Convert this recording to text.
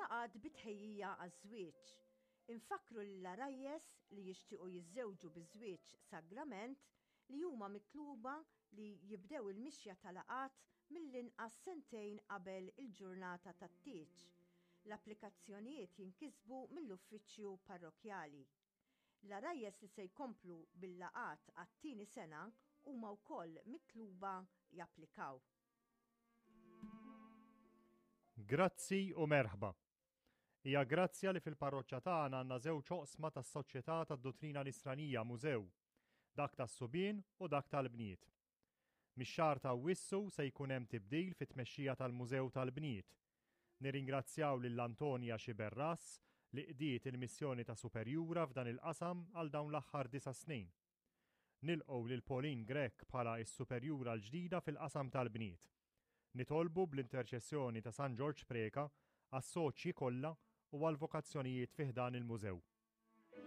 Laqgħat bi tħejjija għaż-żwieġ. Infakkru lill-għarajjes li jixtiequ jiżżewġu biż-żwieġ sagrament li huma mitluba li jibdew il-mixja ta' laqgħat mill-inqas sentejn qabel il-ġurnata tat-tieġ. L-applikazzjonijiet jinkisbu mill-uffiċċju parrokkjali. L-għarajjes li se jkomplu bil-laqgħat għat-tieni sena huma wkoll mitluba japplikaw. Grazzi u merħba. Hija grazzja li fil-parroċċa tagħna għandna żewġ oqsma tas-Soċjetà tad-Duttrina Nisranija Mużew, dak tas-subien u dak tal-bniet. Mix-xahar ta' Awwissu se jkun hemm tibdil fit-tmexxija tal-Mużew tal-Bniet. Nirringrazzjaw lil Antonia Sciberras li qdiet il-missjoni ta' superjura f'dan il-qasam għal dawn l-aħħar disa' snin. Nilqgħu lil Pauline Grech bħala s-superjura l-ġdida fil-qasam tal-bniet. Nitolbu bl-interċessjoni ta' San Ġorġ Preca għas-soċji kollha u għall-vokazzjonijiet fi ħdan il-Mużew.